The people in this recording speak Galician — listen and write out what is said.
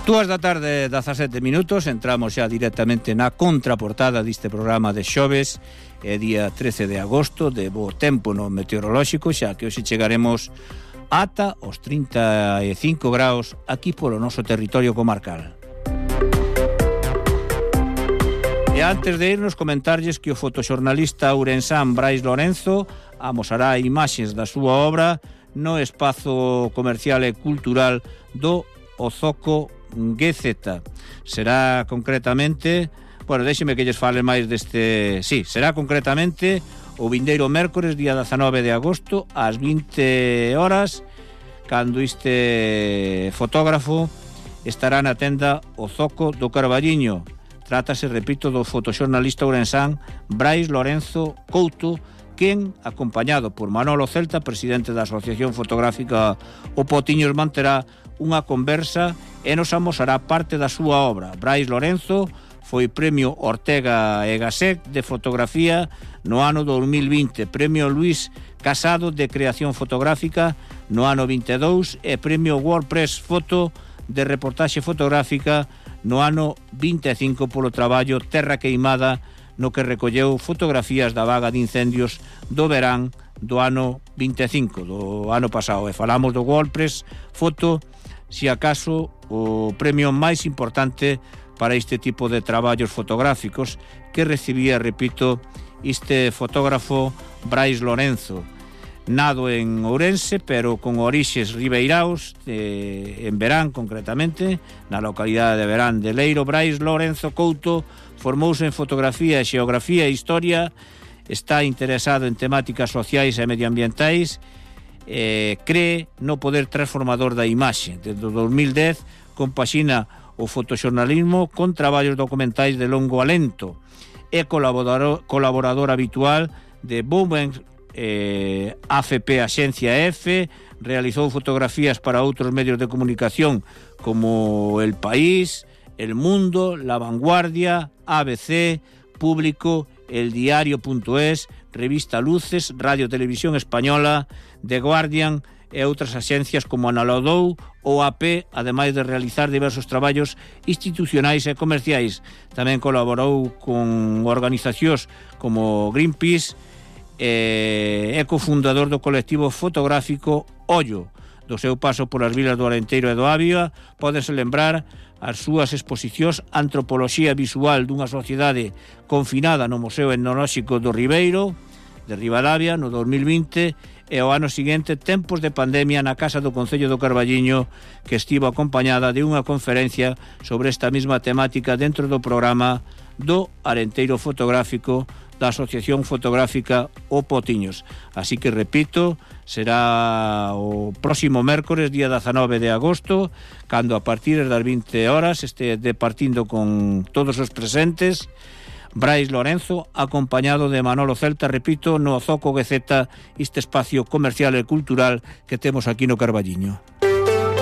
2 da tarde, 17 minutos, entramos xa directamente na contraportada deste programa de xoves, día 13 de agosto, de bo tempo no meteorolóxico, xa que hoxe chegaremos ata os 35 graus aquí polo noso territorio comarcal. E antes de irnos, comentarlles que o fotoxornalista ourensán Brais Lorenzo amosará imaxes da súa obra no espazo comercial e cultural do Ozoco GZ. Será concretamente, bueno, déxeme que lles fale máis deste, sí, será concretamente o vindeiro mércores, día 19 de agosto, ás 20 horas, cando este fotógrafo estará na tenda Ozoco do Carballiño. Trátase, repito, do fotoxornalista ourensán Brais Lorenzo Couto, quen, acompañado por Manolo Celta, presidente da Asociación Fotográfica O Potiños, manterá unha conversa e nos amosará parte da súa obra. Brais Lorenzo foi premio Ortega e Gasset de fotografía no ano 2020, premio Luis Casado de creación fotográfica no ano 22 e premio WordPress Foto de reportaxe fotográfica no ano 25 polo traballo Terra Queimada, no que recolleu fotografías da vaga de incendios do verán do ano 25, do ano pasado. E falamos do WordPress Foto, si acaso o premio máis importante para este tipo de traballos fotográficos que recibía, repito, este fotógrafo Brais Lorenzo, nado en Ourense, pero con orixes ribeiraos, en Verán concretamente, na localidade de Verán de Leiro. Brais Lorenzo Couto formouse en fotografía, xeografía e historia, está interesado en temáticas sociais e medioambientais, cree no poder transformador da imaxe. Desde 2010 compaxina o fotoxornalismo con traballos documentais de longo alento. É colaborador habitual de Bowman, AFP Axencia F, realizou fotografías para outros medios de comunicación como El País, El Mundo, La Vanguardia, ABC, Público, El Diario.es, Revista Luces, Radio Televisión Española, The Guardian e outras axencias como Analodou ou AP, ademais de realizar diversos traballos institucionais e comerciais. Tamén colaborou con organizacións como Greenpeace, é cofundador do colectivo fotográfico Ollo. Do seu paso polas vilas do Arenteiro e do Ávia, pódense lembrar as súas exposicións Antropoloxía Visual dunha sociedade confinada no Museo Etnolóxico do Ribeiro, de Ribadavia, no 2020, e ao ano seguinte Tempos de Pandemia na Casa do Concello do Carballiño, que estivo acompañada de unha conferencia sobre esta mesma temática dentro do programa do Arenteiro Fotográfico da Asociación Fotográfica O Potiños. Así que, repito, será o próximo mércores, día 19 de agosto, cando a partir das 20 horas este departindo con todos os presentes Brais Lorenzo, acompañado de Manolo Celta, repito, no Ozoco GZ, este espacio comercial e cultural que temos aquí no Carballiño.